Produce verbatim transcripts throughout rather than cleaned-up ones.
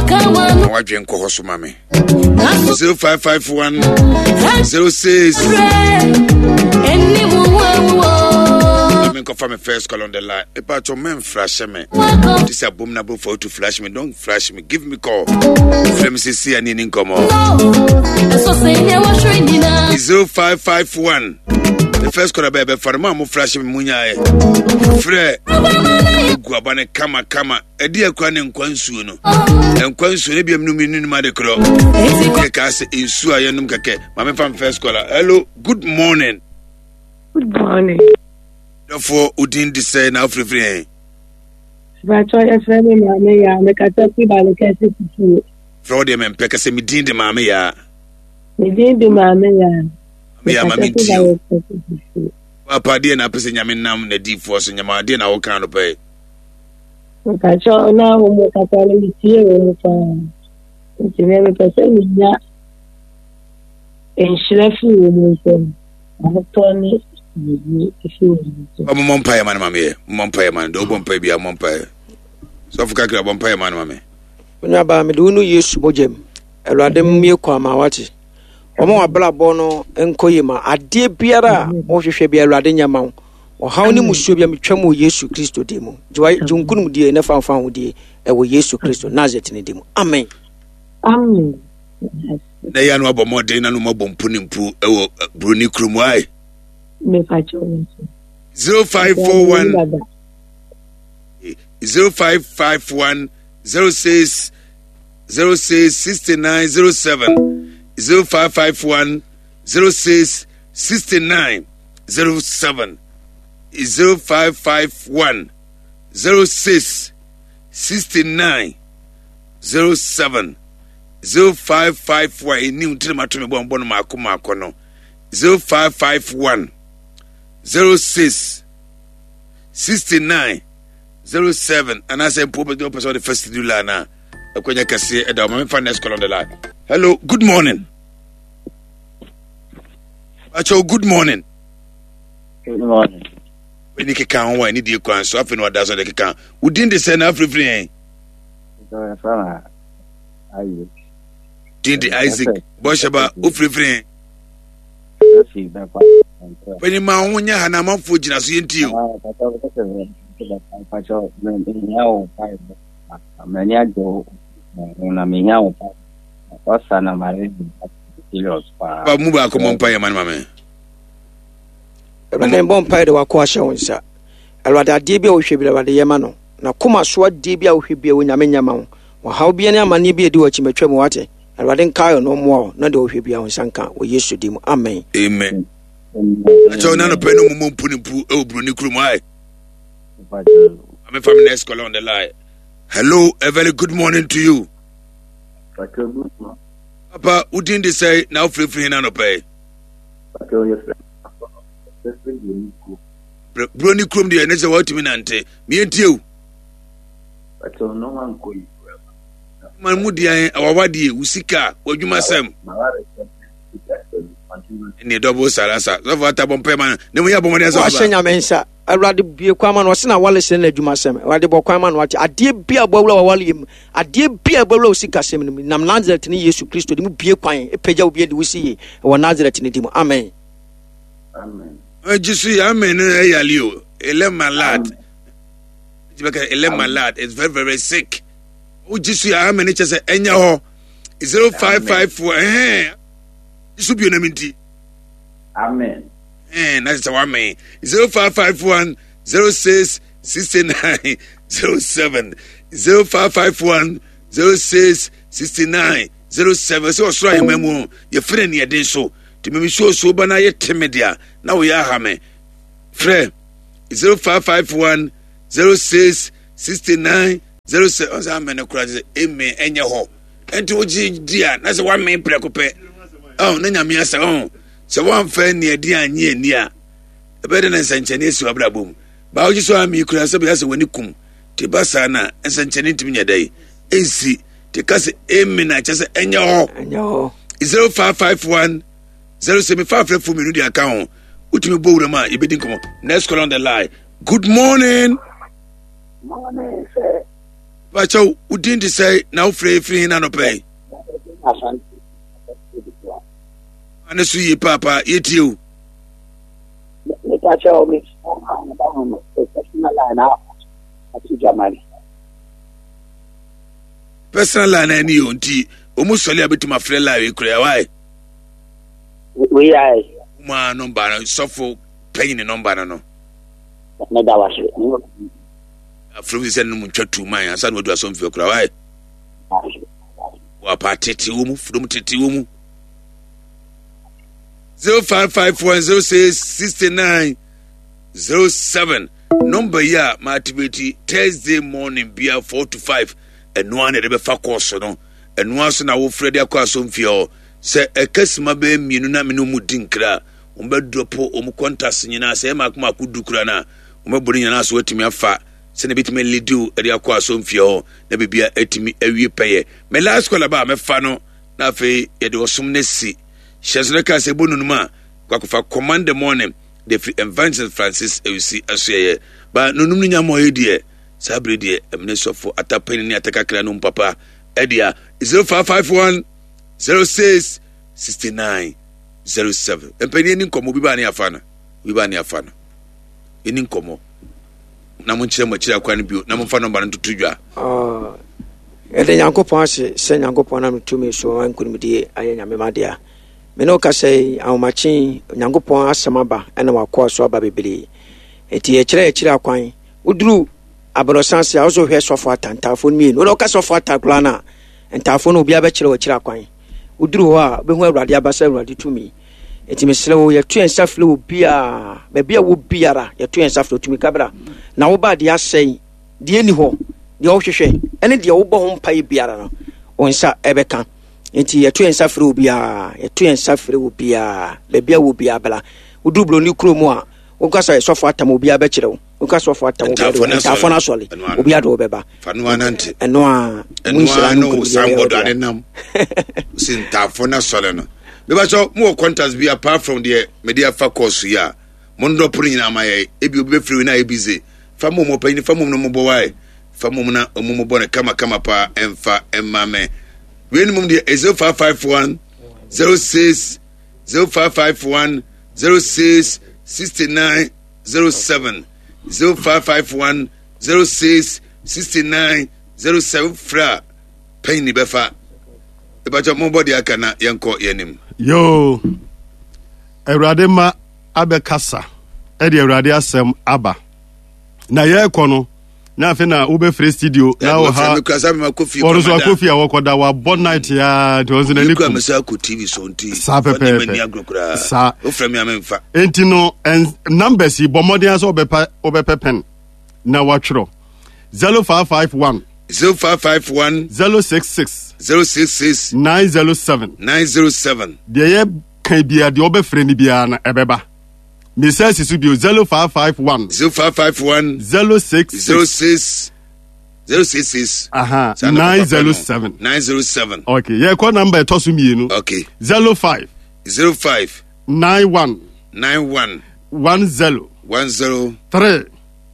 Na wadwen kɔ hɔ so ma me. zero five five one zero six. Me nkɔfa me first call on the line. Mepa kyɛw, mɛmflash me. This abominable for you to flash me. Don't flash me. Give me call. Frɛ me sisi ani ni nkɔmmɔ. zero five five one. The first call abɛ bɛfa no, mo a mo flash me mu nyaeɛ. Frɛ gu aba ne kama kama. Ɛde akura ne nkwa nsuo no. Nkwa nsuo no ebiam num num ade korɔ. Yɛ kaa sɛ nsuo a yɛnom kɛkɛ. Maame fa first caller. Hello, good morning. Good morning. Dɔfoɔ, odin de sɛ na afirifiri yɛn? Bàtɔ, yɛfrɛ me Maame Yaa, mekasa fi Balekɛse fufuo. Frɛ wo deɛ mempɛ kɛsɛ me din de Maame Yaa. Me din de Maame Yaa. Maame Yaa, ma Mekasa fi mentie o. Balekɛse fufuo. Papa, adeɛ na apɛ sɛ Nyame nam n'adiyifoɔ so nyama adeɛ na woka no pɛ? Mepakyɛ, na wo mu kasa no, metie wɔ mu paa. Nti me mepɛ sɛ menya nhyira fi wɔ mu nsam. Ahotɔ ne asomdwoe fi wɔ mu nsam. Mommɔ mpaeɛ ma no ma meyɛ. Mommɔ mpaeɛ ma no deɛ, wobɔ mpaeɛ biara, mommɔ mpaeɛ. Sɔfo kakra, bɔ mpaeɛ ma no ma me. Onuabaa, mede wo no Yesu mogya mu. Awurade mmue kwan ma wate. Ɔma w'abrabɔ no nkɔ yie ma adeɛ biara a wohwehwɛ bi, Awurade nyɛ ma wo. Ɔhaw ne musuo bi a metwa mu wɔ Yesu Kristo din mu. Gye wa- gye wo nkonimdie ne fa mfa ho die ɛwɔ Yesu Kristo Nasaret ne din mu. Amen. Amen. Na ɛyɛ no abɔ mmɔden na no mabɔ mpu ne mpu ɛwɔ eh, buroni kurom ae. Mepakyɛ wo nso. zero five four one Dada. zero five five one zero six zero six sixty-nine zero seven, zero five five one zero six sixty-nine zero seven, zero five five one zero six sixty-nine zero seven, zero five five one. Ɛnim tiri ma to me bɔ mbɔ no maako maako no. zero five five one zero six sixty-nine zero seven. Anaasɛ mpo wopɛ wopɛ sɛ wode fa studio line a, ɛkwanya kɛseɛ ɛda wo ma. Memfa next call on the line. Hello, good morning. Akyɛw, good morning. Good morning. Wani keka ho a ɛne die kwan so. Afei na wada so de keka. Wo din de sɛ na afirifiri yɛn? So, yɛfrɛ me Isaac. Din de Isaac Bɔhyɛba, wofirifiri yɛn? Efi bɛkwa. Pani ma ho nyɛ ha na amanfoɔ gyina so yɛntie o. Pakyɛ, mehia wo mpaebɔ. M'ani agye wo ho na mehia wo mpaebɔ. Ɔsa na mare serious paa. Ba mu baako mmɔ mpa yɛ ma no ma me. Awurade, mbɔ mpaeɛ de wakɔ ahyɛ wo nsa. Awurade, adeɛ bi a wohwɛ bi, Awurade, yɛ ma no. Na koma so adeɛ bi a wohwɛ bi a, Onyame nyɛ ma wo. Ɔhaw bi ne amanneɛ bi a ɛdi wɔ akyi matwa mu wate. Awurade nkae no, mmoa wo na deɛ wohwɛ bi a wo nsa nka wɔ Yesu din mu. Amen. Amen. Akyɛw, na anɔpɛ no mumɔ mpu ne mpu ɛwɔ buroni kurom ae. Maame, fa me next caller on the line. Hello, a very good morning to you. Papa, wo din de sɛ na wofirifiri hin anɔpɛ yi? Buroni kurom deɛ ne sɛ wɔatumi nante meɛntie o. Ma mu deɛ awawadeɛ, wo sika, w'adwuma sɛm ne dɔbo sarasa. Sɔfo ata, bɔ mpae ma no na mu yɛ abɔmmɔden sɛ wahyɛ Nyame nsa. Awurade, bue kwan ma no. Ɔse na wale sɛ no adwuma sɛm. Awurade, bɔ kwan ma no wate. Adeɛ bi a bɔwura wawale mu, adeɛ bi a bɔwura wo sikasɛm no mu, nam Nasaret ne Yesu Kristo de mu, bue kwan, ɛpagya wo bi de wo si yie ɛwɔ Nasaret ne di mu. Amen. Gye so yɛ amen no. Ɛyale o, ele malade bɛka, ele malade is very very sick. Wogye so yɛ amen no kyɛ sɛ ɛnyɛ hɔ. zero five five four ɛhɛn gye so bio na mi nti. Amen. Ɛn na kyerɛ sɛ wamen. zero five five one zero six sixty-nine zero seven, zero five five one zero six sixty-nine zero seven. Sɛ ɔsoro ahema mu yɛfrɛ ne yɛden so nti meme suosuo ba no ayɛ teme deɛ na woyɛ aha me. Frɛ zero five five one zero six sixty-nine zero seven. Ɔsɛ amen no koraa sɛ amen ɛnyɛ hɔ. Ɛnti wogye di a na sɛ woamen prɛko pɛ ɔn na Nyame asɛ ɔn sɛ woamfa nneɛden anyɛ ani a, ɛbɛyɛ dɛ na nsɛnkyɛnne asi w'abrabɔ mu. Baa wogye so ami kura sɛ bɛyɛ sɛ w'ani kum te ba saa na nsɛnkyɛnne ntumi nyɛ dɛ ɛnsi te ka sɛ amen a kyɛ sɛ ɛnyɛ hɔ. Ɛnyɛ hɔ. zero five five one zero seven five frɛ fo mmienu de aka ho. Wotumi bɔ wuram a yɛbɛdi nkɔmmɔ. Next call on the line. Good morning. Morning, sir. Pakyɛw, wo din de sɛ na wofrɛ firi hin anɔpɛ yi? Ane so yie paapa, yɛtie o. Mepakyɛw, me personal line a ato dwamane. Personal line ani o, nti ɔmu sɔle a bɛtumi afrɛ line wei koraa wae. Wei ayɛ. Kuma nɔmba no, sɔfo panyin nɔmba no no. Meda wase. Afrɛ mu sɛ no mu ntwa tu man ansa na wadu asɔmfie koraa wae. Wapa tete wɔ mu, fudom tete wɔ mu. zero five five one zero six sixty nine zero seven Number yi a ma activate Thursday morning bia four to five, ɛnoa na yɛde bɛfa kɔɔso no, ɛnoa so na wofrɛ de akɔ asɔmfie hɔ. Sɛ ɛka sima bɛyɛ mmienu na mene ɔmu di nkra a, wɔn bɛdrɔpo wɔn contacts nyinaa. Sɛ ɛyɛ mako mako du kura no a, wɔn bɛbɔ ne nyinaa so atumi afa sɛnea ebɛtumi alidiw de akɔ asɔmfie hɔ na biribia atumi awie pɛyɛ. Me last call aba a mɛfa no na afei yɛde ɔsom no asi hyɛ so no ka sɛ ɛbɔ nonum a kwakofa command the morning de firi Evangelist Francis Awusi asoɛyɛ ba nonum no nyama ɔyɛ deɛ saa bere deɛ ɛmene sɔfo atapani ne atakakra no papa ɛdea zero five five one zero six sixty nine zero seven. Mpanyin ani nkɔmɔ, obi ba ne afa no, obi ba ne afa no, ɛni nkɔmɔ na mo nkyerɛ mo akyiri akwan no bio na momfa nɔmba no ntoto dwa. Yɛde Nyankopɔn ase sɛ Nyankopɔn nam tumi so nkonimdie ayɛ Nyame ma dea. Me ne wo kasa yi, ahomakye Nyankopɔn asɛm aba ɛna wakoa so aba bebree. Enti yɛkyerɛ yɛkyerɛ akwan. Woduru aborɔsan ase a, wo so hwɛ sɔfo ata ntaafo no mmienu. Wode woka sɔfo ata koraa no a, ntaafo no obiara bɛkyerɛ wɔkyerɛ akwan. Woduru hɔ a, wobɛhu Awurade aba sɛ Awurade tumi. Enti mesrɛ wo, yɛto yɛn nsa frɛ wo biara, baabi a wɔ biara, yɛto yɛn nsa frɛ tumi kabra. Na woba deɛ asɛe, deɛ ɛni hɔ, deɛ wohwehwɛ, ɛne deɛ wobɔ ho mpaeɛ biara no, wo nsa ɛbɛka. Enti yɛto yɛn nsa frɛ wo biara, yɛto yɛn nsa frɛ wo biara, baabi a wɔ biara bra. Woduru Buroni kurom a, woka sɛ sɔfo atam, obiara bɛkyerɛ wo. Woka sɔfo atam, obiara de wo, ntaafo no asɔre, obiara de wo bɛba. Fa no anante. Ɛno a, mu nhyira no nkonimdie bɛyɛ wo dea. Si ntaafo no asɔre no. Mebakyɛ mo wɔ contacts bi apart from deɛ mede afa course yi a, mo ndɔ pono nyinaa ma yɛ. Ebi obi bɛfiri wei na ayɛ busy. Fa mom ɔpanyin, fa mom no mobɔ wae. Fa mom na ɔmo mobɔ no kama kama paa ɛmfa ɛmma me. Wei no mom deɛ zero five five one zero six zero five five one zero six sixty nine zero seven zero five five one zero six sixty nine zero seven fra panyin bɛfa. Ebakyɛ mo bɔ deɛ aka na yɛnkɔ yɛn anim. Yoo, Awurade ma abɛkasa ɛde Awurade asɛm aba. Na yɛrekɔ no, na afei na wobɛfrɛ studio na wo ha wɔno so akɔ fie a wɔkɔda wabɔ night a nti ɔnso n'ani kum saa pɛpɛɛpɛ saa enti no numbers yi bɔ mmɔden sɛ wobɛpɛ wobɛpɛ pen na watwerɛ zero five five one zero five five one zero six six zero six six nine zero seven nine zero seven deɛ yɛ kan biara deɛ ɔbɛfrɛ no biara no ɛbɛba. Mesa si so bio zero five five one zero five five one zero six zero six zero six six aha nine zero seven nine zero seven. Okay, yɛ kɔ number ɛtɔ so mmienu. Okay. Zero five zero five nine one nine one one zero one zero three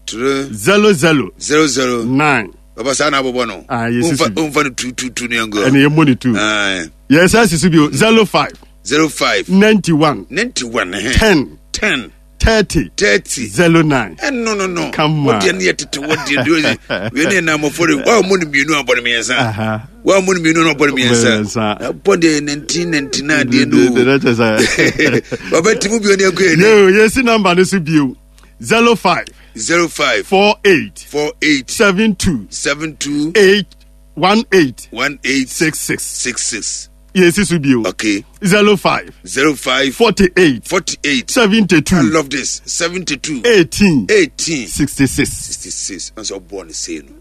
three zero zero zero zero nine. Baba saa na abobɔ no. Ah, yɛ sisi. Nfa no two two two ni ɛngo. Ɛna yɛ mɔ ne two. Yɛ sɛ sisi bio zero five. Zero five. Ninety one. Ninety one. Ten. Ten. Thirty. Thirty. Zero nine. Eh, no no no. Come on. Wodi ne tete wodi de we ne na mofo de wa mo ne mienu abɔ ne miensa. Wa mo ne mienu no abɔ ne miensa. Abɔ de nineteen ninety-nine de no. Baba timu bio ne akɔ ni. Yo, yesi number ne so bio. Zero five. Zero five. Four eight. Four eight. Seven two. Seven two. Eight. One eight. One eight. Six six. Six six. Yes, bio. Okay. Zero five. Zero five. Forty eight. Forty eight. Seventy two. I love this. Seventy two. Eighteen. Eighteen. Sixty six. Sixty six. I'm so born the same.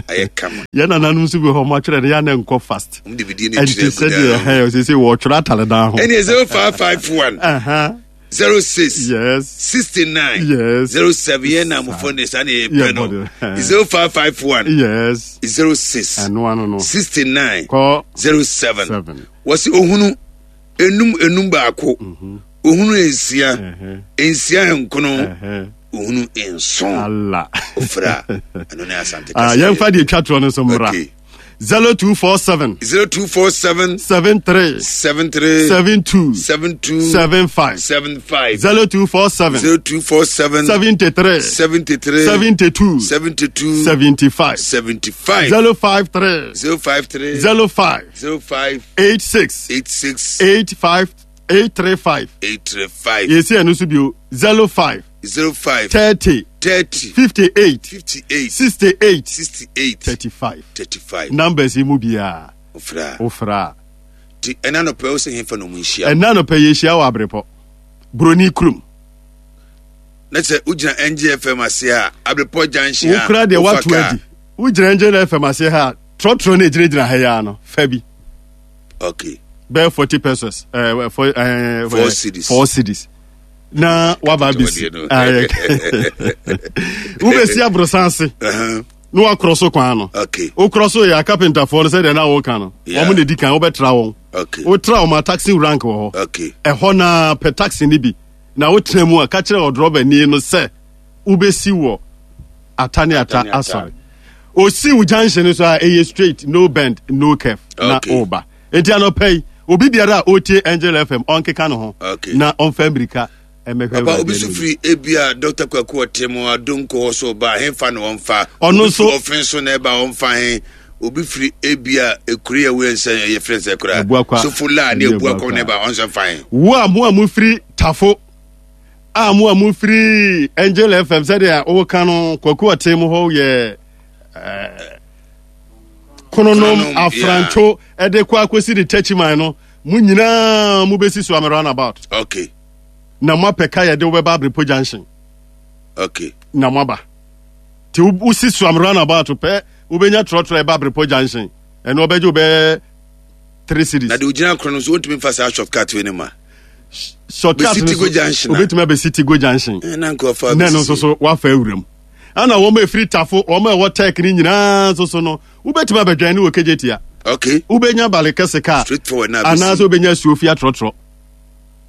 I come. Yeah, na nanu nso bi hɔ ɔmo atwerɛ no yɛ anɛ nkɔ fast. Ɔmo de bi di ne Ɛnti kyerɛ sɛdeɛ ɛhɛn ɔsese wɔtwerɛ atare dan ho. Ɛni zero five five one. Uh-huh. Zero six. Yes. Sixty nine. Yes. Zero seven. Yɛn na mo phone de saa na yɛ pɛ no. Yeah, Zero five five one. Yes. Zero six. Ɛno ano no. Sixty nine. Kɔ. Zero seven. Seven. Wɔsi ohunu enum enum baako. Ohunu nsia. Nsia nkono. Ohunu nson. Ala. Ofra ɛno ne Asante Ah, kasa. Yɛmfa deɛ twa toɔ no nso mmra. Okay. zero two four seven zero two four seven seven three seven three seven two seven two seven five. seven five. zero two four seven zero two four seven seventy-three seventy-three seventy-two seventy-two seventy-five. seventy-five. zero five three zero five three zero five zero five eight six eight six eight five eight three five. eight three five. Yɛsi ɛno nso bio, zero five zero five thirty thirty fifty-eight fifty-eight sixty-eight sixty-eight thirty-five. thirty-five. Numbers yi mu biara Ofra. Wofra a. Ti ɛna nɔpɛ wo sɛ hemfa na ɔmu nhyia? Ɛna nɔpɛ yɛhyia wɔ Aberepɔ Buroni kurom. Na sɛ wogyina N G F M ase a, Aberepɔ Junction a, Wokura deɛ wofa woato kaa. Adi wogyina Angel F M ase ha a, trɔtrɔ no ɛgyinagyina ha yi ara no, fa bi. Okay bɛyɛ forty pesos, eh, four, eh, Four cedis. Four cedis na waba abɛsi. Ketewa deɛ no. Ayɛ. Wobɛsi aborosan ase Uh-huh. na wakorɔ so kwan no. Okay Wokorɔ so yɛ akapentafoɔ no sɛdeɛ na woka no. Yeah. Wɔn na di kan wobɛtra wɔn. Okay wotra wɔn a, taxi rank wɔ hɔ. Okay ɛhɔ na pɛ taxi no bi na wotena mu a, ka kyerɛ ɔdrɔbani no sɛ wobɛsi wɔ Ata ne Ata Ata ne Ata. Asɔre. Osi wo junction no so a, ɛyɛ straight, no bend, no curve na Okay. woba. Enti anɔpɛ yi, obi biara a ɔtie Angel F M ɔnkeka ne ho Okay. na ɔmfa mmirika ɛmɛhwɛ Papa, Awurade obi so anim. firi ebia Doctor Kwaku ɔte mu adonko hɔ so ba, hemfa na wɔmfa? Ɔno Obi nso- firi ɔfen so na ɛba, ɔmfa he? Obi firi ebia ekuri a ɛwɔ nsɛn ɛyɛ fɛn sɛ kora Abuakwa. Sofola ne Ne Abuakwa Abuakwa. na ɛba, ɔnso mfa he? Wo a mo a mofiri Tafo a, mo a mofiri Angel F M, sɛdeɛ woka no, Kwaku ɔte mu hɔ yɛ eh, Kononom, Kononom, Afranto ɛde kɔ akɔsi de Takyiman no, mo nyinaa mobɛsi so ame roundabout okay na moapɛ ka yɛde wobɛba Aberepɔ Junction okay na moaba. Nti wo- wosi so ame roundabout pɛ, wobɛnya trɔtrɔ ɛba Aberepɔ Junction. Ɛno ɔbɛgye wo bɛyɛ three cedis. Na de ogyina korɔ no nso, wontumi mfa saa shortcut wei no ma Shortcut Bɛsi no Tigo so, Junction a. Wobɛtumi abɛsi Tigo Junction. Eh, na nkurɔfoɔ na ɛno nso so wafa awuram ana wɔn a ɛfiri Tafo, wɔn a ɛwɔ Tech ne nyinaa nso so no, wobɛtumi abɛdwan ne wɔ Kejetia. Okay wobɛnya bale kɛse kaa Straight forward na abɛsi. Anaasɛ wobɛnya Asuofie atrɔtrɔ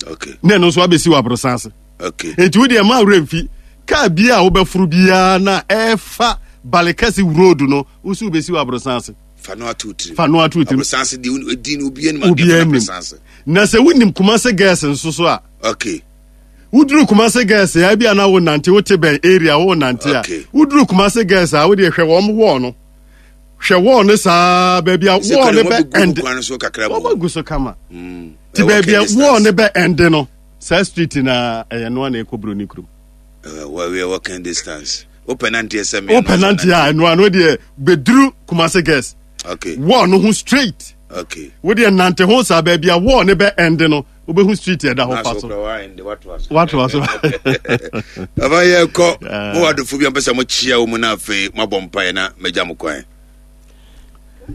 okay na ɛno nso abɛsi wɔ aborosan ase. Okay enti wodeɛ ma werɛ mfi kaa bia a wobɛforo biara na ɛfa bale kɛse road no, wosi wobɛsi wɔ aborosan ase. Fa no ato tirim. Fa no ato tirim. Aborosan ase deɛ, ɛdi no obiara nim. Obiara nim. Aborosan ase. Na sɛ wonim Kumase Girls nso so a, okay woduru Kumase Girls a, ebi a na wo nante, wote bɛn area wo nante a, Okay. woduru Kumase Girls a, wode hwɛ wɔn wall no, hwɛ wall no saa, baabi a Sɛ wall no kwan bɛ no end. kwan no so kakra wɔn mu. agu so kama. Mm. Ti Ɛwɔ baabi a distance. wall no bɛ end no, saa street na ɛyɛ noa na ɛkɔ Buroni kurom. Uh, well, walking distance, wopɛ nanteɛ sɛ me. Wopɛ nante a, ɛnoa no deɛ bɛduru Kumase Girls okay wall no ho straight. Okay wodeɛ nante ho saa, baabi a wall no bɛ end no, wobɛhu street ɛda hɔ, fa so. Watoa so. Papa, yɛkɔ. Yeah. Mowɔ adofo bi a mpɛ sɛ mokyia wo mu no, afei moabɔ mpaeɛ na magya mo kwan.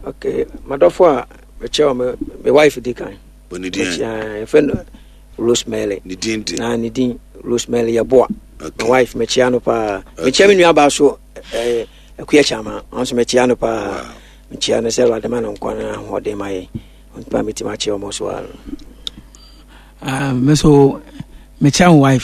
Okay, madɔfo a mekyɛ wɔ me me wife di kan. Ɔne din? Mekyia, yɛfrɛ no Rosemary. Ne din de? Na ne din Rosemary Yɛboa. Okay. My wife, mekyia no paa. Mekyia me nuabaa so, ɛɛ Akua Kyama, ɔno nso mekyia no paa. Wow. Mekyia no sɛ Awurade ma no nkwa no ahoɔden ma yɛn ɔntipa metumi akyia ɔmo so a. Ah, me so mekyia wo wife.